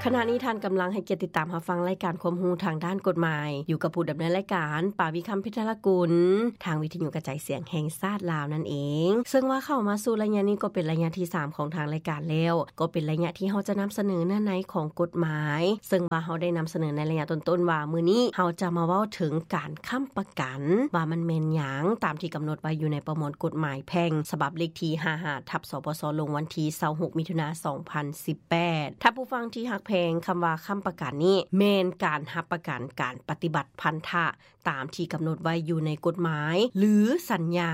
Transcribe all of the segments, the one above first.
ຂະນະນີ້ທ່ານກຳລັງໃຫ້ກຽດຕິດຕາມຮັບຟັງລາຍການຄວາມຮູ້ທາງດ້ານກົດໝາຍ ຢູ່ກັບຜູ້ດຳເນີນລາຍການ ປາວິຄຳ ເພັດທະລະກຸນ ທາງວິທະຍຸກະຈາຍສຽງແຫ່ງຊາດລາວນັ້ນເອງ. ເຊິ່ງວ່າເຂົ້າມາສູ່ໄລຍະນີ້ກໍເປັນໄລຍະທີສາມຂອງທາງລາຍການແລ້ວ, ກໍເປັນໄລຍະທີ່ເຮົາຈະນຳສະເໜີເນື້ອໃນຂອງກົດໝາຍ, ເຊິ່ງວ່າເຮົາໄດ້ນຳສະເໜີໃນໄລຍະຕົ້ນໆວ່າ ມື້ນີ້ເຮົາຈະມາເວົ້າເຖິງການຄ້ຳປະກັນ ວ່າມັນແມ່ນຫຍັງ ຕາມທີ່ກຳນົດໄວ້ຢູ່ໃນປະມວນກົດໝາຍແພ່ງ ສະບັບເລກທີຫ້າຫ້າ ທັບ ສປສ ລົງວັນທີຊາວຫົກ ມິຖຸນາ ສອງພັນສິບແປດ. ທ່ານຜູ້ຟັງທີ່ຮັກແພງ, ຄຳວ່າຄ້ຳປະກັນນີ້ ແມ່ນການຮັບປະກັນການປະຕິບັດພັນທະຕາມທີ່ກຳນົດໄວ້ຢູ່ໃນກົດໝາຍ ຫຼື ສັນຍາ,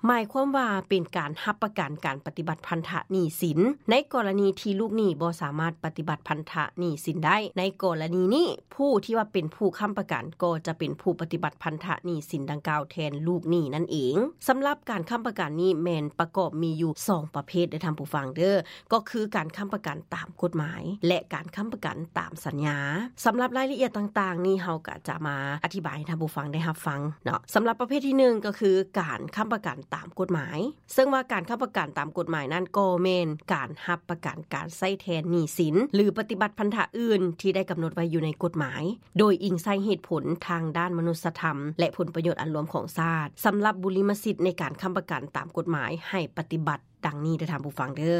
ໝາຍຄວາມວ່າເປັນການຮັບປະກັນການປະຕິບັດພັນທະໜີ້ສິນ ໃນກໍລະນີທີ່ລູກໜີ້ບໍ່ສາມາດປະຕິບັດພັນທະໜີ້ສິນໄດ້. ໃນກໍລະນີນີ້ ຜູ້ທີ່ວ່າເປັນຜູ້ຄ້ຳປະກັນກໍຈະເປັນຜູ້ປະຕິບັດພັນທະໜີ້ສິນດັ່ງກ່າວແທນລູກໜີ້ນັ້ນເອງ. ສຳລັບການຄ້ຳປະກັນນີ້ແມ່ນປະກອບມີຢູ່ສອງປະເພດເດີທ່ານຜູ້ຟັງເດີ, ກໍຄືການຄ້ຳປະກັນຕາມກົດໝາຍ ແລະ ການຄ້ຳປະກັນຕາມສັນຍາ. ສຳລັບລາຍລະອຽດຕ່າງໆນີ້ ເຮົາກໍຈະມາອະທິບາຍໃຫ້ທ່ານຜູ້ຟັງໄດ້ຮັບຟັງເນາະ. ສຳລັບປະເພດທີໜຶ່ງ ກໍຄືການຄ້ຳປະກັນຕາມກົດໝາຍ. ເຊິ່ງວ່າການຄ້ຳປະກັນຕາມກົດໝາຍນັ້ນ ກໍແມ່ນການຮັບປະກັນການໃຊ້ແທນໜີ້ສິນ ຫຼື ປະຕິບັດພັນທະອື່ນທີ່ໄດ້ກຳນົດໄວ້ຢູ່ໃນກົດໝາຍ ໂດຍອີງໃສ່ເຫດຜົນທາງດ້ານມະນຸດສະທຳ ແລະ ຜົນປະໂຫຍດອັນລວມຂອງຊາດ. ສຳລັບບຸລິມະສິດໃນການຄ້ຳປະກັນຕາມກົດໝາຍ ໃຫ້ປະຕິບັດດັ່ງນີ້ເດີທ່ານຜູ້ຟັງເດີ.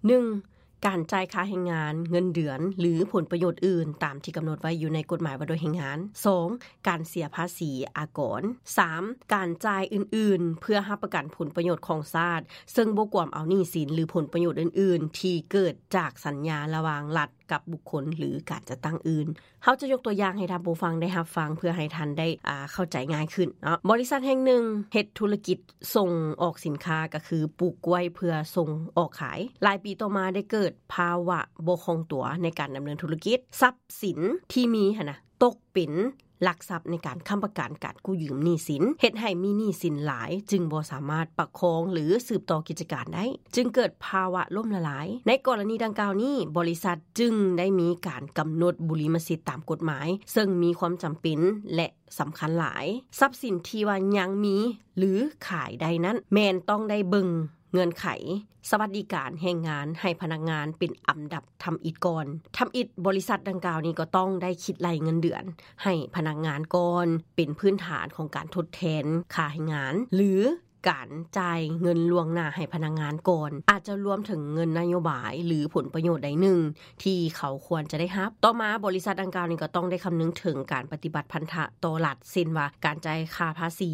ໜຶ່ງ ການຈ່າຍຄ່າແຮງງານ, ເງິນເດືອນ ຫຼື ຜົນປະໂຫຍດອື່ນຕາມທີ່ກຳນົດໄວ້ຢູ່ໃນກົດໝາຍວ່າດ້ວຍແຮງງານ. ສອງ ການເສຍພາສີອາກອນ. ສາມ ການຈ່າຍອື່ນໆ ເພື່ອຮັບປະກັນຜົນປະໂຫຍດຂອງຊາດ ເຊິ່ງບໍ່ກວມເອົາໜີ້ສິນ ຫຼື ຜົນປະໂຫຍດອື່ນໆ ທີ່ເກີດຈາກສັນຍາລະຫວ່າງລັດກັບບຸກຄົນ ຫຼື ການຈັດຕັ້ງອື່ນ. ເຮົາຈະຍົກຕົວຢ່າງໃຫ້ທ່ານຜູ້ຟັງໄດ້ຮັບຟັງ ເພື່ອໃຫ້ທ່ານໄດ້ ອ່າ ເຂົ້າໃຈງ່າຍຂຶ້ນເນາະ. ບໍລິສັດແຫ່ງໜຶ່ງເຮັດທຸລະກິດສົ່ງອອກສິນຄ້າ ກໍຄືປູກກ້ວຍເພື່ອສົ່ງອອກຂາຍ. ຫຼາຍປີຕໍ່ມາໄດ້ເກີດພາວະບໍ່ຄ່ອງຕົວໃນການດຳເນີນທຸລະກິດ. ຊັບສິນທີ່ມີຫັ້ນນະ ຕົກເປັນຫຼັກຊັບໃນການຄ້ຳປະກັນການກູ້ຢືມໜີ້ສິນ, ເຮັດໃຫ້ມີໜີ້ສິນຫຼາຍ ຈຶ່ງບໍ່ສາມາດປະຄອງ ຫຼື ສືບຕໍ່ກິດຈະການໄດ້, ຈຶ່ງເກີດພາວະລົ້ມລະລາຍ. ໃນກໍລະນີດັ່ງກ່າວນີ້, ບໍລິສັດຈຶ່ງໄດ້ມີການກຳນົດບຸລິມະສິດຕາມກົດໝາຍ, ເຊິ່ງມີຄວາມຈຳເປັນ ແລະ ສຳຄັນຫຼາຍ. ຊັບສິນທີ່ວ່າຍັງມີ ຫຼື ຂາຍໄດ້ນັ້ນ ແມ່ນຕ້ອງໄດ້ເບິ່ງເງື່ອນໄຂສະຫວັດດີການແຮງງານໃຫ້ພະນັກງານເປັນອັນດັບທຳອິດກ່ອນ. ທຳອິດບໍລິສັດດັ່ງກ່າວນີ້ກໍຕ້ອງໄດ້ຄິດໄລ່ເງິນເດືອນໃຫ້ພະນັກງານກ່ອນ ເປັນພື້ນຖານຂອງການທົດແທນຄ່າແຮງງານ ຫຼື ການຈ່າຍເງິນລ່ວງໜ້າໃຫ້ພະນັກງານກ່ອນ, ອາດຈະລວມເຖິງເງິນນະໂຍບາຍ ຫຼື ຜົນປະໂຫຍດໃດໜຶ່ງ ທີ່ເຂົາຄວນຈະໄດ້ຮັບ. ຕໍ່ມາ, ບໍລິສັດດັ່ງກ່າວນີ້ກໍຕ້ອງໄດ້ຄຳນຶງເຖິງການປະຕິບັດພັນທະຕໍ່ລັດ, ເຊັ່ນວ່າ ການຈ່າຍຄ່າພາສີ,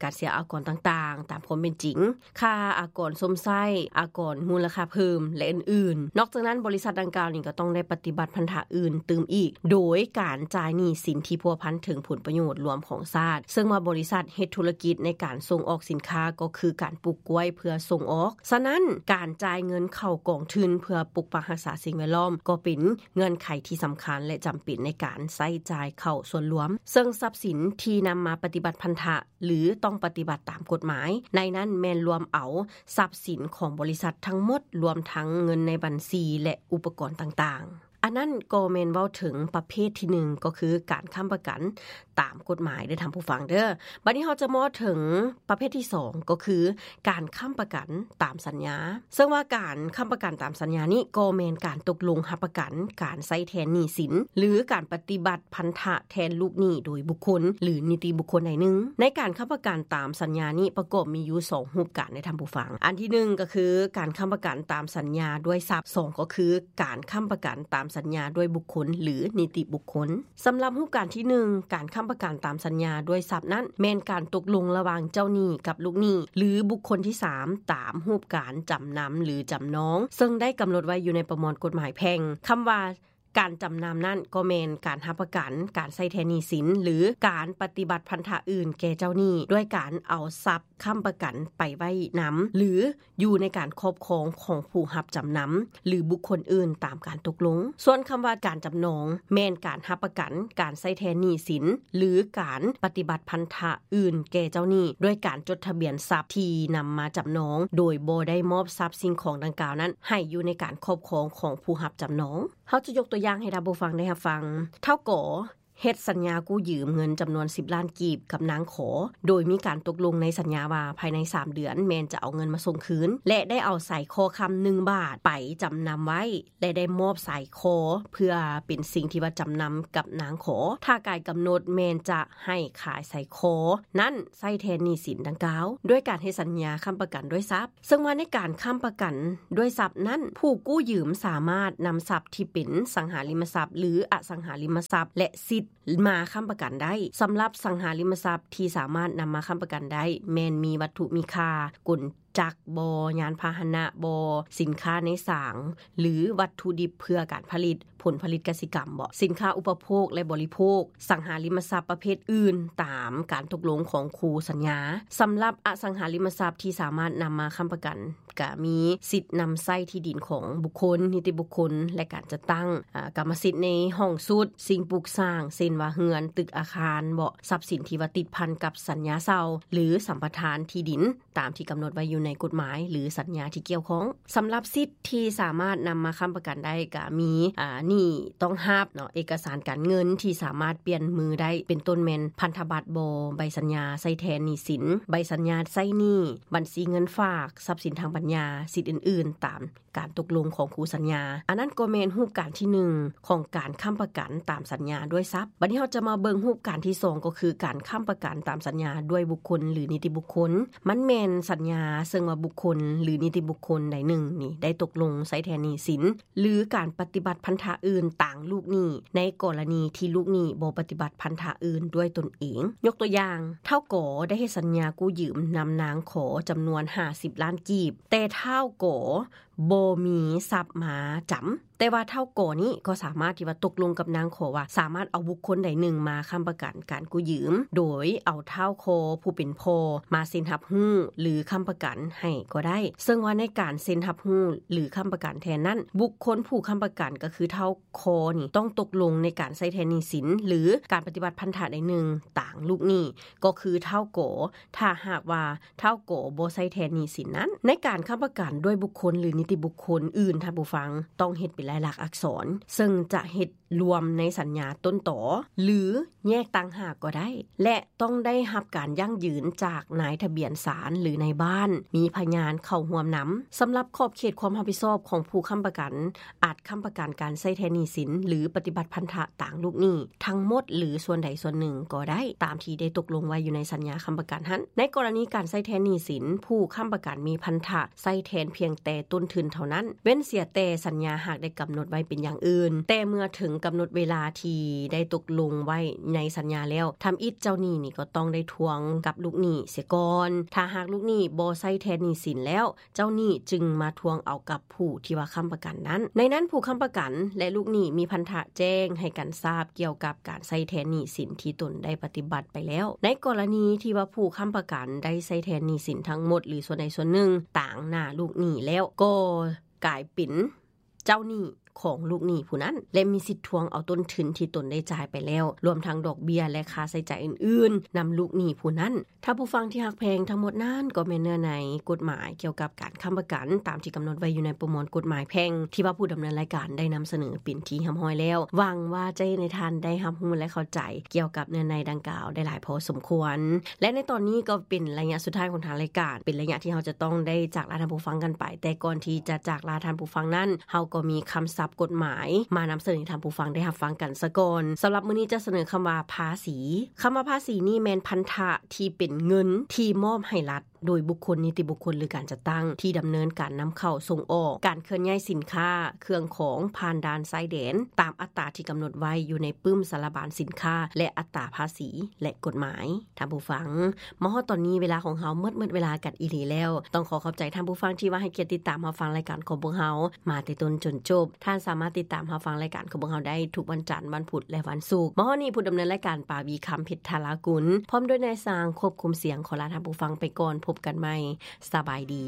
ການເສຍອາກອນຕ່າງໆ ຕາມຄວາມເປັນຈິງ, ຄ່າອາກອນຊົມໃຊ້, ອາກອນມູນລະຄ່າເພີ່ມ ແລະ ອື່ນໆ. ນອກຈາກນັ້ນ, ບໍລິສັດດັ່ງກ່າວນີ້ກໍຕ້ອງໄດ້ປະຕິບັດພັນທະອື່ນຕື່ມອີກ, ໂດຍການຈ່າຍໜີ້ສິນທີ່ພົວພັນເຖິງຜົນປະໂຫຍດລວມຂອງຊາດ, ເຊິ່ງວ່າບໍລິສັດເຮັດທຸລະກິດໃນການສົ່ງອອກສິນຄ້າ ກໍຄືການປູກກ້ວຍເພື່ອສົ່ງອອກ. ສະນັ້ນ, ການຈ່າຍເງິນເຂົ້າກອງທຶນເພື່ອປົກປັກຮັກສາສິ່ງແວດລ້ອມ ກໍເປັນ ເງື່ອນໄຂທີ່ສຳຄັນ ແລະ ຈຳເປັນໃນການໃຊ້ຈ່າຍເຂົ້າສ່ວນລວມ, ເຊິ່ງຊັບສິນທີ່ນຳມາປະຕິບັດພັນທະ ຫຼື ຕ້ອງປະຕິບັດຕາມກົດໝາຍ ໃນນັ້ນແມ່ນລວມເອົາຊັບສິນຂອງບໍລິສັດທັງໝົດ, ລວມທັງເງິນໃນບັນຊີ ແລະ ອຸປະກອນຕ່າງໆ. ອັນນັ້ນກໍແມ່ນເວົ້າເຖິງປະເພດທີໜຶ່ງ ກໍຄືການຄ້ຳປະກັນຕາມກົດໝາຍເດີທ່ານຜູ້ຟັງເດີ. ບັດນີ້ເຮົາຈະມາເວົ້າເຖິງປະເພດທີສອງ ກໍຄືການຄ້ຳປະກັນຕາມສັນຍາ. ເຊິ່ງວ່າການຄ້ຳປະກັນຕາມສັນຍານີ້ ກໍແມ່ນການຕົກລົງຮັບປະກັນການໃຊ້ແທນໜີ້ສິນ ຫຼື ການປະຕິບັດພັນທະແທນລູກໜີ້ໂດຍບຸກຄົນ ຫຼື ນິຕິບຸກຄົນໃດໜຶ່ງ. ໃນການຄ້ຳປະກັນຕາມສັນຍານີ້ ປະກອບມີຢູ່ສອງຮູບການໃດທ່ານຜູ້ຟັງ. ອັນທີໜຶ່ງ ກໍຄືການຄ້ຳປະກັນຕາມສັນຍາດ້ວຍຊັບ, ສອງ ກໍຄືການຄ້ຳປະກັນຕາມສັນຍາດ້ວຍບຸກຄົນ ຫຼື ນິຕິບຸກຄົນ. ສຳລັບຮູບການທີໜຶ່ງ ການຄ້ຳປະກັນຕາມສັນຍາດ້ວຍຊັບນັ້ນ ແມ່ນການຕົກລົງລະຫວ່າງເຈົ້າໜີ້ກັບລູກໜີ້ ຫຼື ບຸກຄົນທີສາມ ຕາມຮູບການຈຳນຳ ຫຼື ຈຳນອງ ເຊິ່ງໄດ້ກຳນົດໄວ້ຢູ່ໃນປະມວນກົດໝາຍແພ່ງ. ຄຳວ່າການຈຳນຳນັ້ນ ກໍແມ່ນການຮັບປະກັນການໃຊ້ແທນໜີ້ສິນ ຫຼື ການປະຕິບັດພັນທະອື່ນແກ່ເຈົ້າໜີ້ ດ້ວຍການເອົາຊັບ ຄ້ຳປະກັນໄປໄວ້ນຳ ຫຼື ຢູ່ໃນການຄອບຄອງຂອງຜູ້ຮັບຈຳນຳ ຫຼື ບຸກຄົນອື່ນຕາມການຕົກລົງ. ສ່ວນຄຳວ່າການຈຳນອງ ແມ່ນການຮັບປະກັນການໃຊ້ແທນໜີ້ສິນ ຫຼື ການປະຕິບັດພັນທະອື່ນແກ່ເຈົ້າໜີ້ ດ້ວຍການຈົດທະບຽນຊັບທີ່ນຳມາຈຳນອງ ໂດຍບໍ່ໄດ້ມອບຊັບສິ່ງຂອງດັ່ງກ່າວນັ້ນ ໃຫ້ຢູ່ໃນການຄອບຄອງຂອງຜູ້ຮັບຈຳນອງ. ເຮົາຈະຍົກຕົວຢ່າງໃຫ້ທ່ານຜູ້ຟັງໄດ້ຮັບຟັງ. ທ້າວ ກໍ ເຮັດສັນຍາກູ້ຢືມເງິນຈຳນວນສິບລ້ານກີບກັບນາງຂໍ ໂດຍມີການຕົກລົງໃນສັນຍາວ່າ ພາຍໃນສາມເດືອນແມ່ນຈະເອົາເງິນມາສົ່ງຄືນ ແລະ ໄດ້ເອົາສາຍຄໍຄຳໜຶ່ງບາດໄປຈຳນຳໄວ້ ແລະ ໄດ້ມອບສາຍຄໍເພື່ອເປັນສິ່ງທີ່ວ່າຈຳນຳກັບນາງຂໍ. ຖ້າກາຍກຳນົດແມ່ນຈະໃຫ້ຂາຍສາຍຄໍນັ້ນໃຊ້ແທນໜີ້ສິນດັ່ງກ່າວ ດ້ວຍການເຮັດສັນຍາຄ້ຳປະກັນດ້ວຍຊັບ. ເຊິ່ງວ່າໃນການຄ້ຳປະກັນດ້ວຍຊັບນັ້ນ ຜູ້ກູ້ຢືມສາມາດນຳຊັບທີ່ເປັນສັງຫາລິມະຊັບ ຫຼື ອະສັງຫາລິມະຊັບ ແລະ ສິດມາຄ້ຳປະກັນໄດ້. ສຳລັບສັງຫາລິມະຊັບທີ່ສາມາດນຳມາຄ້ຳປະກັນໄດ້ ແມ່ນມີວັດຖຸມີຄ່າ, ກົນຈັກບໍ, ຍານພາຫະນະບໍ, ສິນຄ້າໃນສາງ ຫຼື ວັດຖຸດິບເພື່ອການຜະລິດ, ຜົນຜະລິດກະສິກຳບໍ, ສິນຄ້າອຸປະໂພກ ແລະ ບໍລິໂພກ, ສັງຫາລິມະຊັບປະເພດອື່ນ ຕາມການຕົກລົງຂອງຄູ່ສັນຍາ. ສຳລັບອະສັງຫາລິມະຊັບທີ່ສາມາດນຳມາຄ້ຳປະກັນ ກະມີສິດນຳໃຊ້ທີ່ດິນຂອງບຸກຄົນ, ນິຕິບຸກຄົນ ແລະ ການຈັດຕັ້ງ, ອາ, ກຳມະສິດໃນຫ້ອງຊຸດ, ສິ່ງປຸກສ້າງ ເຊັ່ນວ່າເຮືອນ, ຕຶກອາຄານບໍ, ຊັບສິນທີ່ວ່າຕິດພັນກັບສັນຍາເຊົ່າ ຫຼື ສຳປະທານທີ່ດິນ ຕາມທີ່ກຳນົດໄວ້ຢູ່ໃນກົດໝາຍ ຫຼື ສັນຍາທີ່ກ່ຽວຂ້ອງ. ສຳລັບສິດທີ່ສາມາດນຳມາຄ້ຳປະກັນໄດ້ ກະມີ, ອາ, ໜີ້ຕ້ອງຮັບເນາະ, ເອກະສານການເງິນທີ່ສາມາດປ່ຽນມືໄດ້ ເປັນຕົ້ນແມ່ນພັນທະບັດບໍ, ໃບສັນຍາໃຊ້ແທນໜີ້ສິນ, ໃບສັນຍາໃຊ້ໜີ້, ບັນຊີເງິນຝາກ, ຊັບສິນທາງປັນຍາ, ສິດອື່ນໆ ຕາມການຕົກລົງຂອງຄູ່ສັນຍາ. ອັນນັ້ນກໍແມ່ນຮູບການທີໜຶ່ງຂອງການຄ້ຳປະກັນຕາມສັນຍາດ້ວຍຊັບ. ບັດນີ້ເຮົາຈະມາເບິ່ງຮູບການທີສອງ ກໍຄືການຄ້ຳປະກັນຕາມສັນຍາດ້ວຍບຸກຄົນ ຫຼື ນິຕິບຸກຄົນ. ມັນແມ່ນສັນຍາເຊິ່ງວ່າບຸກຄົນ ຫຼື ນິຕິບຸກຄົນໃດໜຶ່ງນີ້ໄດ້ຕົກລົງໃຊ້ແທນໜີ້ສິນ ຫຼື ການປະຕິບັດພັນທະອື່ນຕາງລູກໜີ້ ໃນກໍລະນີທີ່ລູກໜີ້ບໍ່ປະຕິບັດພັນທະອື່ນດ້ວຍຕົນເອງ. ຍົກຕົວຢ່າງ, ທ້າວ ກ ໄດ້ເຮັດສັນຍາກູ້ຢືມນຳນາງ ຂ ຈຳນວນຫ້າສິບລ້ານກີບ, ແຕ່ທ້າວ ກ ບໍ່ມີຊັບມາຈຳ, ແຕ່ວ່າທ້າວ ກ ນີ້ກໍສາມາດທີ່ວ່າຕົກລົງກັບນາງ ຂ ວ່າສາມາດເອົາບຸກຄົນໃດໜຶ່ງມາຄ້ຳປະກັນການກູ້ຢືມ ໂດຍເອົາທ້າວ ຄ ຜູ້ເປັນພໍ່ມາເຊັນຮັບຮູ້ ຫຼື ຄ້ຳປະກັນໃຫ້ກໍໄດ້. ເຊິ່ງວ່າໃນການເຊັນຮັບຮູ້ ຫຼື ຄ້ຳປະກັນແທນນັ້ນ, ບຸກຄົນຜູ້ຄ້ຳປະກັນກໍຄືທ້າວ ຄ ນີ້ຕ້ອງຕົກລົງໃນການໃຊ້ແທນໜີ້ສິນ ຫຼື ການປະຕິບັດພັນທະໃດໜຶ່ງຕາງລູກໜີ້ ກໍຄືທ້າວ ກ ຖ້າຫາກວ່າທ້າວ ກ ບໍ່ໃຊ້ແທນໜີ້ສິນນັ້ນ. ໃນການຄ້ຳປະກັນດ້ວຍບຸກຄົນ ຫຼື ນິຕິບຸກຄົນອື່ນ, ທ່ານຜູ້ຟັງຕ້ອງເຮັດເປັນລາຍລັກອັກສອນ, ເຊິ່ງຈະເຮັດລວມໃນສັນຍາຕົ້ນຕໍ ຫຼື ແຍກຕ່າງຫາກກໍໄດ້ ແລະ ຕ້ອງໄດ້ຮັບການຢັ້ງຢືນຈາກນາຍທະບຽນສານ ຫຼື ນາຍບ້ານ, ມີພະຍານເຂົ້າຮ່ວມນຳ. ສຳລັບຂອບເຂດຄວາມຮັບຜິດຊອບຂອງຜູ້ຄ້ຳປະກັນ, ອາດຄ້ຳປະກັນການໃຊ້ແທນໜີ້ສິນ ຫຼື ປະຕິບັດພັນທະຕາງລູກໜີ້ທັງໝົດ ຫຼື ສ່ວນໃດສ່ວນໜຶ່ງກໍໄດ້, ຕາມທີ່ໄດ້ຕົກລົງໄວ້ຢູ່ໃນສັນຍາຄ້ຳປະກັນຫັ້ນ. ໃນກໍລະນີການໃຊ້ແທນໜີ້ສິນ, ຜູ້ຄ້ຳປະກັນມີພັນທະໃຊ້ແທນພຽງແຕ່ຕົ້ນທຶນເທົ່ານັ້ນ, ເວັ້ນເສຍແຕ່ສັນຍາຫາກໄດ້ກຳນົດໄວ້ເປັນຢ່າງອື່ນ, ແຕ່ເມື່ອເຖິງກຳນົດເວລາທີ່ໄດ້ຕົກລົງໄວ້ໃນສັນຍາແລ້ວ, ທຳອິດເຈົ້າໜີ້ນີ້ກໍຕ້ອງໄດ້ທວງກັບລູກໜີ້ເສຍກ່ອນ. ຖ້າຫາກລູກໜີ້ບໍ່ໃຊ້ແທນໜີ້ສິນແລ້ວ, ເຈົ້າໜີ້ຈຶ່ງມາທວງເອົາກັບຜູ້ທີ່ວ່າຄ້ຳປະກັນນັ້ນ. ໃນນັ້ນ, ຜູ້ຄ້ຳປະກັນ ແລະ ລູກໜີ້ມີພັນທະແຈ້ງໃຫ້ກັນຊາບກ່ຽວກັບການໃຊ້ແທນໜີ້ສິນທີ່ຕົນໄດ້ປະຕິບັດໄປແລ້ວ. ໃນກໍລະນີທີ່ວ່າຜູ້ຄ້ຳປະກັນໄດ້ໃຊ້ແທນໜີ້ສິນທັງໝົດ ຫຼື ສ່ວນໃດສ່ວນໜຶ່ງຕາງໜ້າລູກໜີ້ແລ້ວ, ກໍກາຍເປັນເຈົ້າໜີ້ຂອງລູກໜີ້ຜູ້ນັ້ນ ແລະ ມີສິດທວງເອົາຕົ້ນທຶນທີ່ຕົນໄດ້ຈ່າຍໄປແລ້ວ, ລວມທັງດອກເບ້ຍ ແລະ ຄ່າໃຊ້ຈ່າຍອື່ນໆ ນຳລູກໜີ້ຜູ້ນັ້ນ. ທ່ານຜູ້ຟັງທີ່ຮັກແພງ, ທັງໝົດນັ້ນກໍແມ່ນເນື້ອໃນກົດໝາຍກ່ຽວກັບການຄ້ຳປະກັນ ຕາມທີ່ກຳນົດໄວ້ຢູ່ໃນປະມວນກົດໝາຍແພ່ງ ທີ່ວ່າຜູ້ດຳເນີນລາຍການໄດ້ນຳສະເໜີເປັນທີ່ຮຽບຮ້ອຍແລ້ວ. ຫວັງວ່າຈະເຮັດໃຫ້ທ່ານໄດ້ຮັບຮູ້ ແລະ ເຂົ້າໃຈກ່ຽວກັບເນື້ອໃນດັ່ງກ່າວໄດ້ຫຼາຍພໍສົມຄວນ. ແລະ ໃນຕອນນີ້ກໍເປັນໄລຍະສຸດທ້າຍຂອງທາງລາຍການ, ເປັນໄລຍະທີ່ເຮົາຈະຕ້ອງໄດ້ຈາກລາທ່ານຜູ້ຟັງກັນໄປ. ແຕ່ກ່ອນທີ່ຈະຈາກລາທ່ານຜູ້ຟັງນັ້ນ, ເຮົາກໍມີຄຳສັບກົດໝາຍມານຳສະເໜີໃຫ້ທ່ານຜູ້ຟັງໄດ້ຮັບຟັງກັນສາກ່ອນ. ສຳລັບມື້ນີ້ຈະສະເໜີຄຳວ່າພາສີ. ຄຳວ່າພາສີນີ້ແມ່ນພັນທະ ທີ່ເປັນເງິນທີ່ມອບໃຫ້ລັດໂດຍບຸກຄົນ, ນິຕິບຸກຄົນ ຫຼື ການຈັດຕັ້ງທີ່ດຳເນີນການນຳເຂົ້າສົ່ງອອກ, ການເຄື່ອນຍ້າຍສິນຄ້າ, ເຄື່ອງຂອງຜ່ານດ່ານຊາຍແດນ ຕາມອັດຕາທີ່ກຳນົດໄວ້ຢູ່ໃນປຶ້ມສາລະບານສິນຄ້າ ແລະ ອັດຕາພາສີ ແລະ ກົດໝາຍ. ທ່ານຜູ້ຟັງ, ມາຮອດຕອນນີ້ເວລາຂອງເຮົາໝົດ, ໝົດເວລາກັນອີ່ຫຼີແລ້ວ. ຕ້ອງຂໍຂອບໃຈທ່ານຜູ້ຟັງທີ່ວ່າໃຫ້ກຽດຕິດຕາມຮັບຟັງລາຍການຂອງພວກເຮົາມາແຕ່ຕົ້ນຈົນຈົບ. ທ່ານສາມາດຕິດຕາມຮັບຟັງລາຍການຂອງພວກເຮົາໄດ້ທຸກວັນຈັນ, ວັນພຸດ ແລະ ວັນສຸກ. ມາຮອດນີ້ ຜູ້ດຳເນີນລາຍການ ປາວີ ຄຳເພັດ ທາລາກຸນ ພ້ອມດ້ວຍນາຍຊ່າງຄວບຄຸມສຽງ ຂໍລາທ່ານຜູ້ຟັງໄປກ່ອນ. ພົບກັນໃໝ່. ສະບາຍດີ.